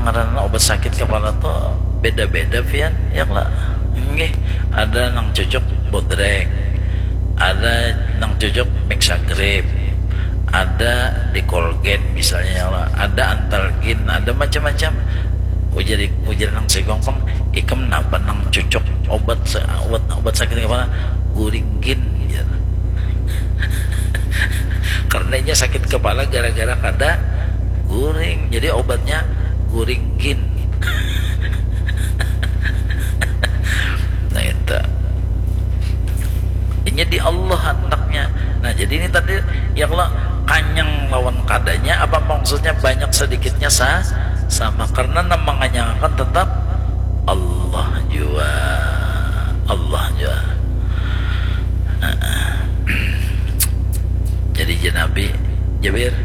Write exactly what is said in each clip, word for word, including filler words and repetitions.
Karena obat sakit kepala tuh beda-beda pian, ya lah. Nggih, ada nang cocok bodrek, ada nang cocok mixagrip, ada di Colgate misalnya, ya lah. Ada Antalgin, ada macam-macam. Ujar ujar nang sigong pang, ikam napa nang cocok obat obat obat sakit kepala? Guringgin, ya. Karena inya sakit kepala gara-gara kada guring, jadi obatnya guringgin. Nah, itu inya di Allah antaknya. Nah, jadi ini tadi, ya Allah, kanyang lawan kadanya, apa maksudnya banyak sedikitnya sa sama, karena nang manganyangakan tetap Allah jua. Allah jua. Jadi jar Nabi, Jabir,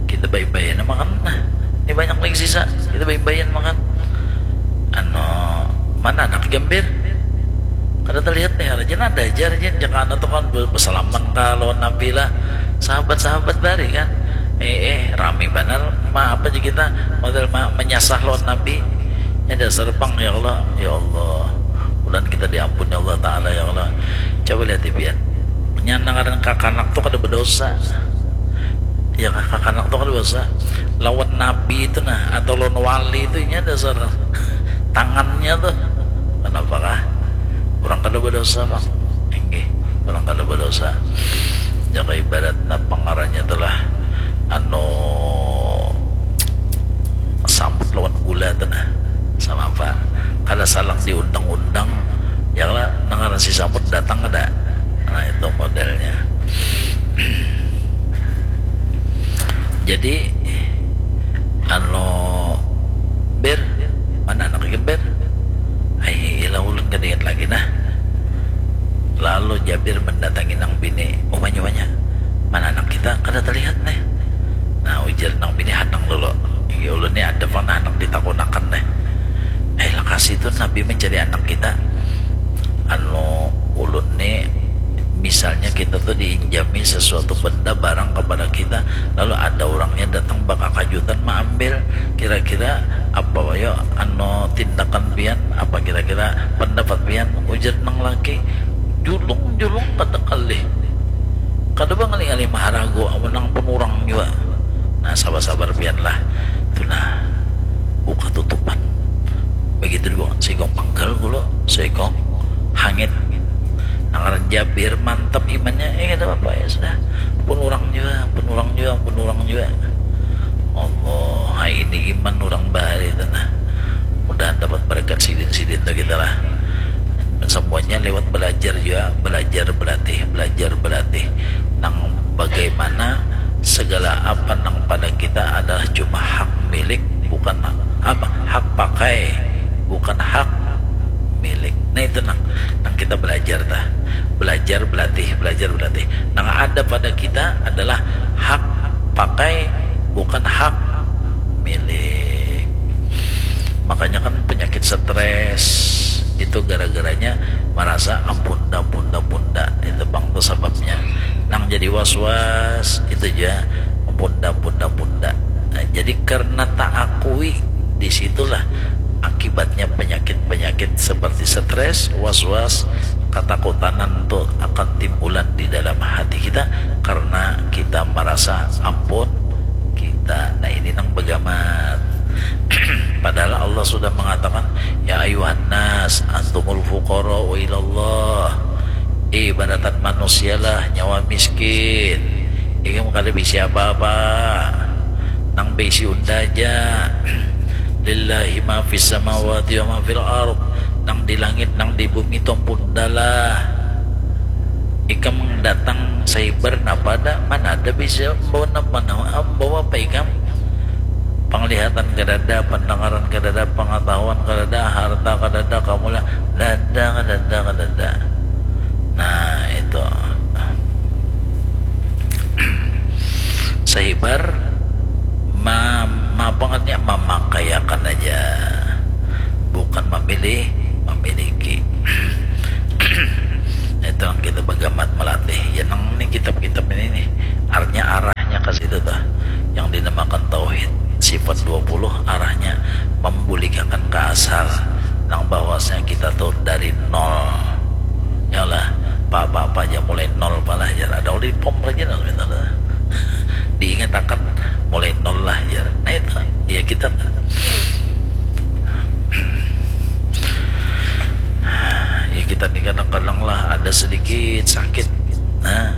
kita bayi-bayi makan, nah, ini banyak lagi sisa, kita bayi-bayi makan. Anu, mana anak Gambir? Kada terlihat nih, raja nada aja, raja. Jangan anak tuh kan bersalaman kah lawan Nabi lah. Sahabat-sahabat bari kan. Eh, eh, rami banar. Ma, apa aja kita model ma, menyasah lawan Nabi. Ya dasar pang, ya Allah, ya Allah. Bulan kita diampuni Allah Ta'ala, ya Allah. Coba lihat, Ipian. Nyanangaran kakanak tuh kada berdosa. Ya, kakanak tuh kada berdosa. Lawan Nabi itu nah, atau lawan wali itu, nya dasar tangannya tuh. Kenapa kah? Orang kada berdosa, Bang. Inggih, orang kada berdosa. Jaga ibaratnya pengarahnya telah anu samut lawan gula tuh nah. Sama apa? Kada salang diundang-undang, ya lah, nangaran si samut datang ada. Nah, itu modelnya. Jadi anu, Ber, mana anak ikam, Ber? Ai, ilah ulun kada ingat lagi nah. Lalu Jabir mendatangi nang bini, umanya, umanya, mana anak kita, kada terlihat nih. Nah, ujar nang bini, hanang dulu. Iya, ulun nih ada pang nah anak ditakunakan nih. Eh, lakasi tuh Nabi mencari anak kita. Anu, ulun nih, misalnya kita tuh diinjami sesuatu benda, barang kepada kita, lalu ada orangnya datang bakakajutan maambil, kira-kira apa yo anu tindakan pian, apa kira-kira pendapat pian? Ujar nang laki, julung-julung kada kalih, kada bangalih-ngalih maharagu, amun nang pun urang jua. Nah, sabar-sabar pian lah. Tuh nah, buka tutupan. Begitu dibuka, sigong panggal gulu, sigong hangit. Nang ngaran Jabir mantap imannya, eh, kada apa-apa, ya sudah. Pun urang jua, pun urang jua, pun urang jua. Allah, hai ini iman urang bahari tu nah. Mudahan dapat barakat sidin-sidin tu kita lah. Semuanya lewat belajar jua, belajar berlatih, belajar berlatih. Nang bagaimana segala apa nang pada kita adalah cuma hak milik, bukan apa, hak pakai, bukan hak milik. Nah, itu nang, nang kita belajar tah. Belajar, berlatih, belajar, berlatih. Nang ada pada kita adalah hak pakai, bukan hak milik. Makanya kan penyakit stres itu gara-garanya merasa ampun dah, ampun dah, ampun dah. Itu pang tuh sababnya. Nang jadi was-was itu ja, ampun dah, ampun dah, ampun dah. Nah, jadi karena tak akui, disitulah akibatnya penyakit-penyakit seperti stres, was-was, ketakutanan tuh akan timbulan di dalam hati kita karena kita merasa ampun kita. Nah, ini nang bagamat. Padahal Allah sudah mengatakan, "Ya ayuhan nas, antumul fuqara'u ilallah." Ibaratan manusialah nyawa miskin. Ikam kada bisi apa-apa. Nang bisi unda aja. Lillahi ma fis samawati wa ma fil ard. Nang di langit, nang di bumi tuh ampun unda lah. Ikam datang sahibar napa ada, mana ada bisa bawa napa, mana bawa apa ikam? Penglihatan kadada, pendengaran kadada, pengetahuan kadada, harta kadada, kamuliaan kadada, kadada, kadada. Nah, itu. Sahibar ma, ma apa ngarannya, memakaiakan aja. Bukan memilih, memiliki. Itu yang kita bagamat melatih. Ya, nang ini kitab-kitab ini nih, artinya arahnya ke situ tuh. Yang dinamakan tauhid. Sifat dua puluh arahnya membuligakan ke asal, nang bahwasanya kita tuh dari nol. Yalah, apa-apa aja mulai nol palah, jar. Ada ulih pom lagi nol, misalnya. Diingat akan mulai nol lah, jar. Nah, itu, ya, kita, ya, kita ni kadang-kadang lah ada sedikit sakit. Nah,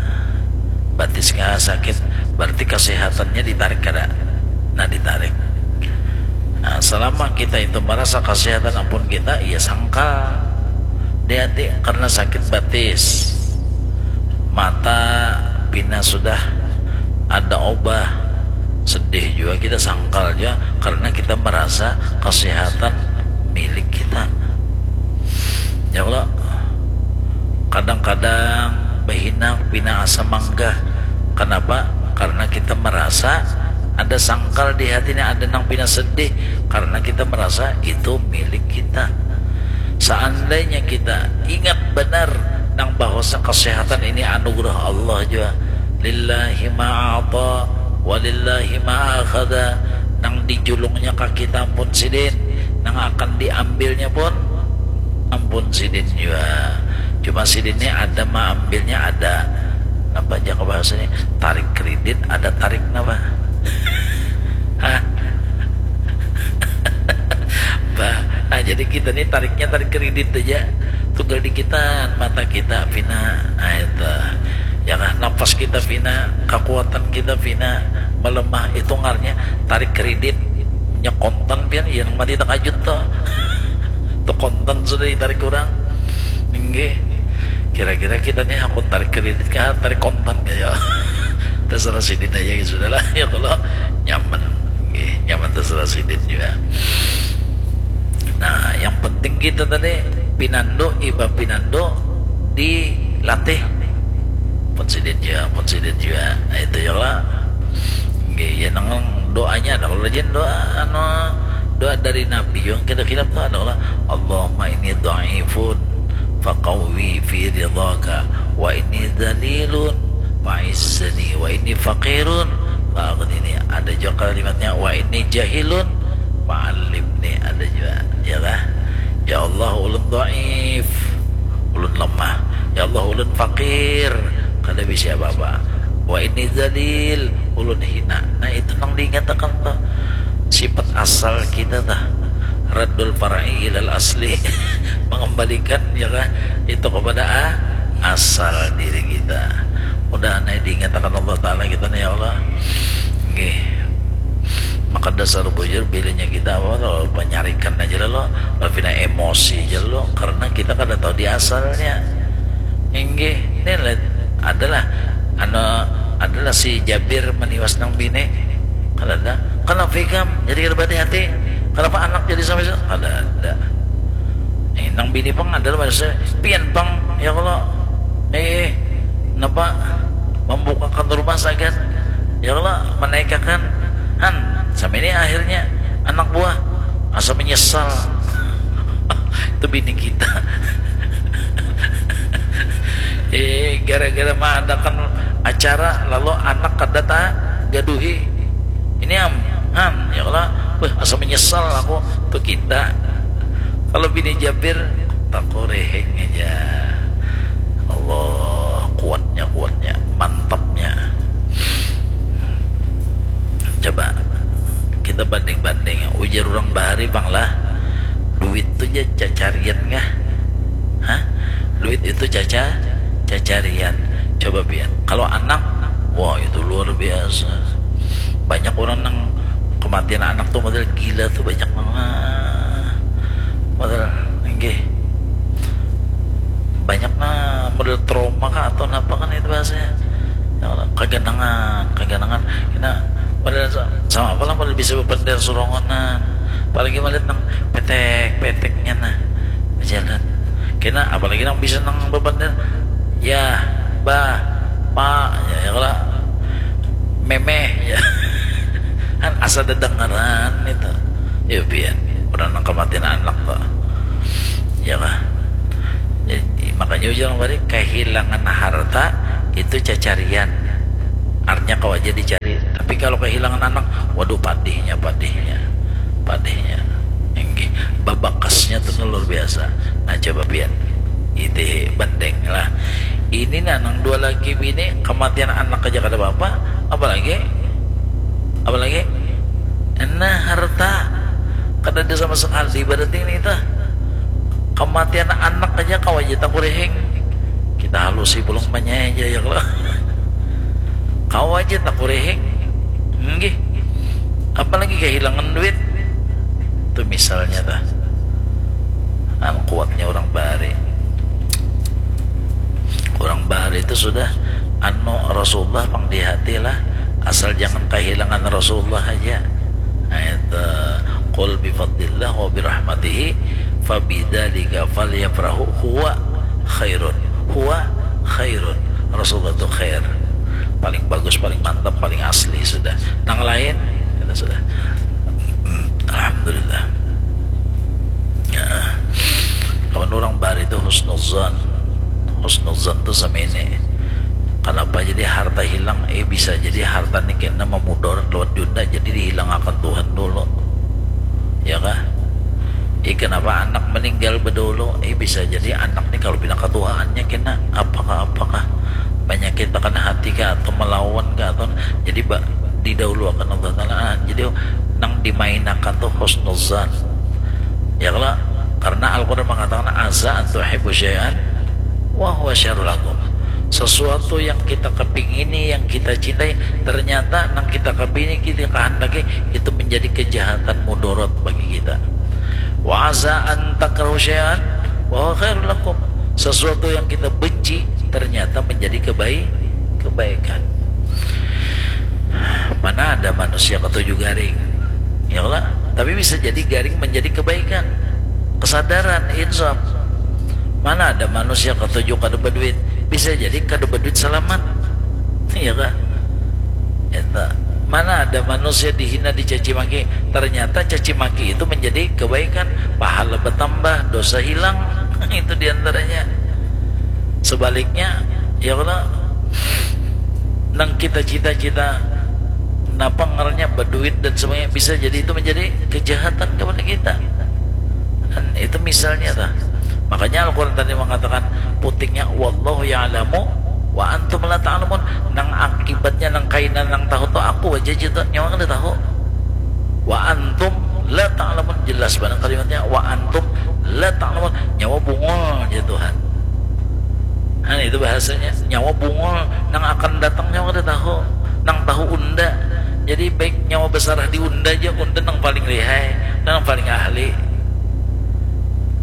batisnya sakit, berarti kesehatannya ditarik kada? Nah, ditarik. Nah, selama kita itu merasa kesehatan ampun kita, ya, sangkal di hati karena sakit batis. Mata pina sudah ada obah, sedih juga kita, sangkal juga karena kita merasa kesehatan milik kita. Ya Allah, kadang-kadang bahinak pina asa manggah. Kenapa? Karena kita merasa ada sangkal di hati ini, ada nang pina sedih karena kita merasa itu milik kita. Seandainya kita ingat benar nang bahwasa kesehatan ini anugerah Allah jua, lillahi ma a'ta wa lillahi ma akhadha, nang dijulungnya ka kita ampun sidin, nang akan diambilnya pun ampun sidin jua. Cuma sidin ni ada maambilnya, ada napa aja ka bahasa ni, tarik kredit, ada tarik napa? Hah? Bah, nah, jadi kita ni tariknya tarik kredit aja. Tunggal dikitan mata kita pina. Nah, itu. Ya kah, napas kita pina, kekuatan kita pina melemah, itu ngarannya tarik kredit. Nya kontan pian, ya, nang mati takajut tuh. Tuh kontan sudah ditarik orang. Inggih. Kira-kira kita nih hakun tarik kredit kah, tarik kontan kah, ya? Terserah sidin aja, ya sudahlah. Ya, kalau nyaman. Inggih, nyaman terserah sidin juga. Nah, yang penting kita tadi pinandu, iba pinandu dilatih. Pun sidin juga, pun sidin juga. Nah, itu ya lah. Inggih, ya, nang doanya ada. Kalau rajin doa, anu, doa dari Nabi yang kita khilaf tuh ada lah. Allahumma inni dhaifun faqawwi fi ridhaka, wa inni dzalilun fa'izzani, wa inni faqirun fa'aghnini. Ada juga kalimatnya, wa inni jahilun fa'allimni. Ada juga, ya lah. Ya Allah, ulun dhaif, ulun lemah. Ya Allah, ulun fakir, kada bisa apa-apa. Wa inni dzalil, ulun hina. Nah, itu nang diingatakan tuh. Sifat asal kita tuh. Raddul far'i ilal asli. Mengembalikan, ya kan, itu kepada a-, asal diri kita. Mudahan ai diingatakan Allah Ta'ala kita nih, ya Allah. Nggih. Maka dasar bujur, bilanya kita apa tuh, penyarikan aja lo, lo pina emosi aja lo, karena kita kada tahu di asalnya. Inggih, ini lihat, adalah, anu, adalah si Jabir meniwas nang bini. Kada ada. Kenapa ikam jadi kada hati? Kenapa anak jadi sampai sa-, kada ada. Eh, nang bini pang adalah manusia. Pian pang, ya Allah. Eh, napa membukakan rumah sagan? Ya Allah, menaikakan. Han, sampai ini akhirnya anak buah asa menyesal. Itu bini kita. Eh, gara-gara mengadakan acara, lalu anak kada ta gaduhi. Ini am, han, ya Allah, wah, asa menyesal aku. Tuh kita. Kalau bini Jabir, takurihing aja. Allah, kuatnya, kuatnya, mantapnya. Coba kita banding-banding. Ujar orang bahari pang lah, duit tuh ja cacarian kah? Hah? Duit itu caca, cacarian. Coba pian. Kalau anak, wah, itu luar biasa. Banyak orang nang kematian anak tuh model gila tuh, banyak banget. Model, inggih. Banyak nah model trauma kah atau napa kan itu bahasanya. Ya Allah, kaganangan, kaganangan. Kena model sa-, sama apa lah model bisa bepander surongonan. Apalagi melihat nang petek-peteknya nah, berjalan. Kena apalagi nang bisa nang bepander, ya, bah, pak, ya, ya kalau memeh, ya. Kan asa dedengaran itu. Ya, pian. Orang nang kematian anak tuh. Ya kah? Jadi, makanya ujang bari, kehilangan harta itu cacarian. Artinya kawa ja dicari. Tapi kalau kehilangan anak, waduh, padihnya, padihnya, padihnya. Inggih, babakasnya tu luar biasa. Nah, coba pian, iti banding lah. Ini nah, nang dua laki bini, kematian anak aja kada apa-apa, apalagi, apalagi, nah, harta. Kada ada sama sekali berarti ini tah. Kematian anak aja kawa ja takurihing. Kita halusi pulang manyai aja ya, kalau kawa ja takurihing. Nggih. Apalagi kehilangan duit. Itu misalnya tah. Anu, kuatnya orang bahari. Orang bahari itu sudah, anu, Rasulullah pang di hati lah. Asal jangan kehilangan Rasulullah aja. Nah, itu, "Qul bi fadlillah wa bi rahmatihi fa bidzalika falyafrahu huwa khairun." Huwa khairun. Rasulullah itu khair. Paling bagus, paling mantap, paling asli sudah. Nang lain, kita sudah. Alhamdulillah. Ya. Kawan orang bahari itu husnuzan. Husnuzan tu sama ini. Kenapa jadi harta hilang? Eh, bisa jadi harta ni kena memudarat lewat Junda, jadi dihilangakan Tuhan dulu. Ya kah? Eh, kenapa anak meninggal bedulu? Eh, bisa jadi anak ni kalau pina ketuaannya kena apakah, apakah penyakit tekan hati kah, atau melawan kah, atau jadi ba, didahuluakan Allah Ta'ala. Ah, jadi nang dimainakan tu husnuzan. Ya kalau, karena Al-Quran mengatakan, "Asa an tuhibbu syai'an wa huwa syarrul lakum." Sesuatu yang kita kepingini, yang kita cintai, ternyata nang kita kepingini, kita kehendaki, itu menjadi kejahatan, mudarat bagi kita. "Wa asa an takrahu syai'an wa huwa khairul lakum." Sesuatu yang kita benci ternyata menjadi kebaik, kebaikan. Mana ada manusia ketujuh garing, ya lah? Tapi bisa jadi garing menjadi kebaikan. Kesadaran, insaf. Mana ada manusia ketujuh kada berduit, bisa jadi kada berduit selamat. Iya kah? Eta. Mana ada manusia dihina, dicaci maki, ternyata caci maki itu menjadi kebaikan, pahala bertambah, dosa hilang. Itu diantaranya. Sebaliknya, ya kalau nang kita cita-cita, napa ngarannya, berduit dan sebagainya, bisa jadi itu menjadi kejahatan kepada kita. Dan itu misalnya tah. Makanya Al-Quran tadi mengatakan putingnya, "Wallahu ya'lamu wa antum la ta'lamun." Nang akibatnya, nang kaina nang tahu tu aku aja, jatuh nyawa kada tahu. "Wa antum la ta'lamun." Jelas banget kalimatnya, "Wa antum la ta'lamun." Nyawa bungul aja Tuhan. Nah, itu bahasanya, nyawa bungul, nang akan datang nyawa kada tahu, nang tahu unda. Jadi baik nyawa besarah di unda aja, unda nang paling lihai, nang paling ahli.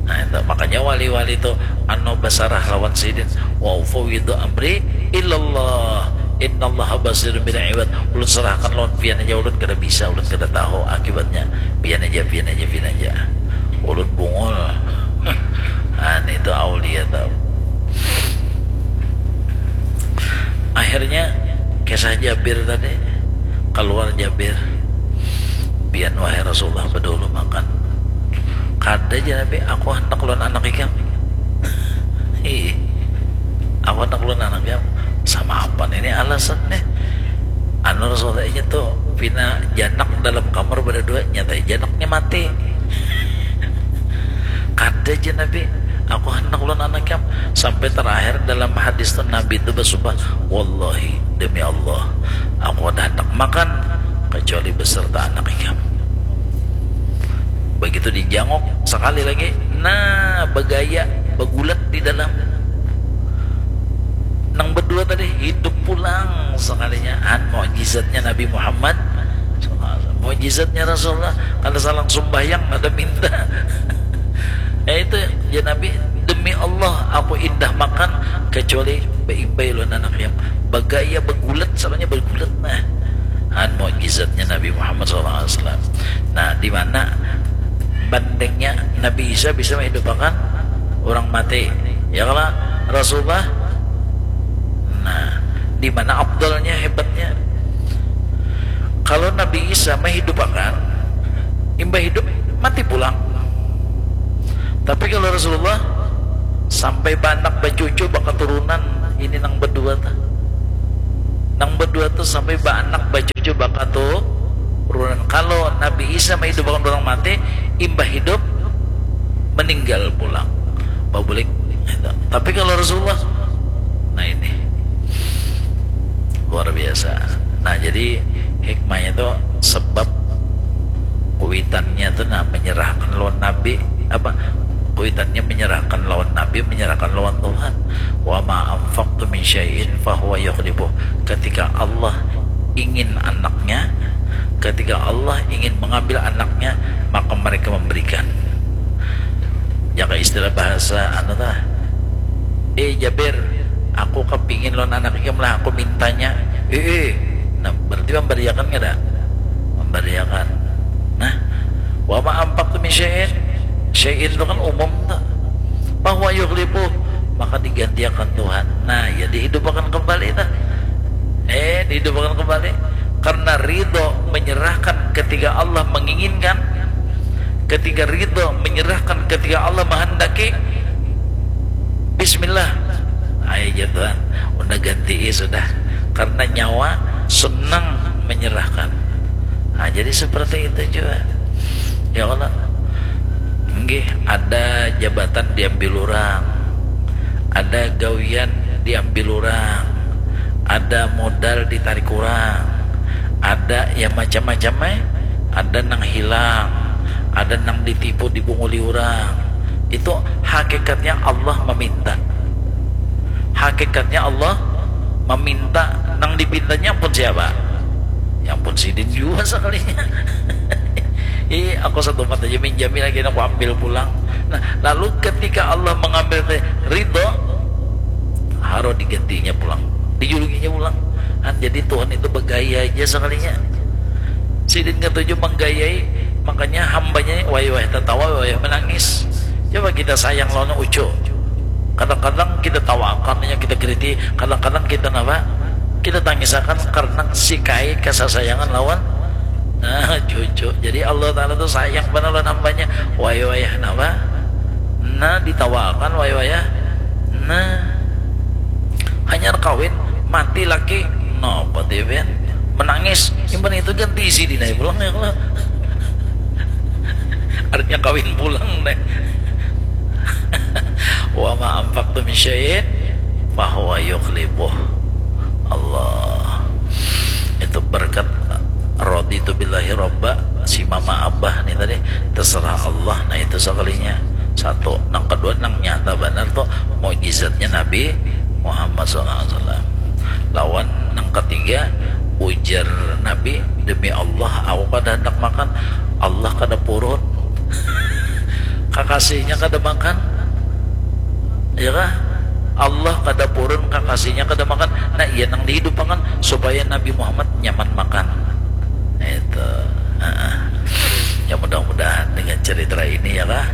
Nah, itu makanya wali-wali tu anu besarah lawan sidin, "Wa ufawwidu amri ilallah, innallaha basirun bil ibad." Ulun serahkan lawan pian aja, ulun kada bisa, ulun kada tahu akibatnya. Pian aja, pian aja, pian aja. Ulun bungul. Nah, itu aulia tau. Akhirnya kisah Jabir tadi, keluar Jabir, "Pian wahai Rasulullah bedulu makan." "Kada," jar Nabi, "aku handak lawan anak ikam." "Ih, aku handak lawan anak ikam." Sama apa ini alasan nih? Anu, Rasulullah inya tuh pina janak dalam kamar berdua, nyata janaknya mati. "Kada," jar Nabi, "aku handak lawan anak ikam." Sampai terakhir dalam hadis tuh Nabi itu bersumpah, "Wallahi, demi Allah, aku kada handak makan kecuali beserta anak ikam." Begitu dijanguk sekali lagi, nah, begaya, begulat di dalam. Nang berdua tadi hidup pulang sekalinya. Han, mukjizatnya Nabi Muhammad, mukjizatnya Rasulullah. Kada salang sumbahyang, kada minta. Ya itu, ya Nabi, "Demi Allah, aku indah makan kecuali beimbai lawan anak ikam." Begaya, begulat, samanya begulat. Nah, han, mukjizatnya Nabi Muhammad sallallahu alaihi wasallam. Nah, di mana bandingnya Nabi Isa bisa menghidupakan orang mati? Ya kalau Rasulullah, nah, di mana afdalnya, hebatnya? Kalau Nabi Isa menghidupakan, imbah hidup, mati pulang. Tapi kalau Rasulullah, sampai banak, bacucu, bakaturunan, ini nang berdua tah. Nang berdua tu sampai baanak, bacucu, bakaturunan. Kalau Nabi Isa maidupakan orang mati, imbah hidup meninggal pulang. Babulik. Tapi kalau Rasulullah, nah ini luar biasa. Nah, jadi hikmahnya tu sebab kuitannya tu nah menyerahkan lawan Nabi, apa, kuitannya menyerahkan lawan Nabi, menyerahkan lawan Tuhan. Wa ma anfaqtu min syai'in fahuwa yukhlifuh. Ketika Allah ingin anaknya, ketika Allah ingin mengambil anaknya, maka mereka memberikan. Jaka istilah bahasa anu tah, eh Jabir, aku kepingin lawan anak ikam lah, aku mintanya. Eh, eh. Nah, berarti memberiakan kada? Memberiakan. Nah, wa ma anfaqtu min syai'in, syai'in itu kan umum tuh. Bahwa yukhlifu, maka digantiakan Tuhan. Nah, ya dihidupakan kembali tuh. Eh, dihidupakan kembali. Karena ridho menyerahkan ketika Allah menginginkan, ketika ridho menyerahkan ketika Allah menghendaki, bismillah, ayo jatuhan, udah ganti sudah, karena nyawa senang menyerahkan. Nah, jadi seperti itu juga. Ya Allah, nggih, ada jabatan diambil orang, ada gawian diambil orang, ada modal ditarik orang, ada ya macam-macam eh, ada nang hilang, ada nang ditipu, dibunguli orang. Itu hakikatnya Allah meminta. Hakikatnya Allah meminta, nang dipintanya pun siapa? Yang pun sidin juga sekalinya. Ih, aku satu mata aja minjami lagi, aku ambil pulang. Nah, lalu ketika Allah mengambil teh ridho, haro digantinya pulang, dijulukinya pulang. Nah, jadi Tuhan itu bergaya aja sekalinya. Sidin ketujuh menggayai, makanya hambanya wayah-wayah tertawa, wayah menangis. Coba kita sayang lawan ucu. Kadang-kadang kita tawakan, ya, kita kriti, kadang-kadang kita napa? Kita tangisakan karena si kai kasasayangan lawan nah cucu. Jadi Allah Ta'ala tuh sayang benar lawan hambanya. Wayah-wayah napa? Nah, ditawakan wayah-wayah. Nah, hanyar kawin, mati laki. Napa tiap menangis? Simpan itu ganti isi dinai pulang ya kalau artinya kawin pulang deh. Wa ma anfaqtu min syai'in fahuwa yukhlifuh. Allah. Itu berkat raditu billahi robba, si mama abah nih tadi, terserah Allah. Nah, itu sekalinya satu. Nang kedua, nang nyata benar tuh mujizatnya Nabi Muhammad sallallahu alaihi wasallam. Lawan nang ketiga, ujar Nabi, demi Allah, aku kada hendak makan. Allah kada purun. Kakasihnya kada makan. Ya kah? Allah kada purun, kakasihnya kada makan. Nah, iya nang dihidupakan supaya Nabi Muhammad nyaman makan. Itu. Heeh. Ya, mudah-mudahan dengan cerita ini, ya kah,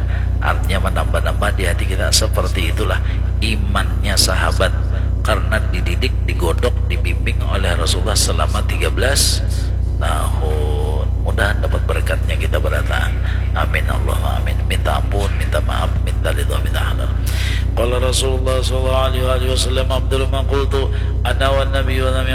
artinya menambah-nambah di hati kita. Seperti itulah imannya sahabat, karena dididik, digodok, dibimbing oleh Rasulullah selama tiga belas tahun. Mudahan dapat berkatnya kita berataan. Amin Allahumma amin. Minta ampun, minta maaf, minta ridho, minta halal. Qala Rasulullah sallallahu alaihi wasallam, afdalu ma qultu ana wan nabiyyuna min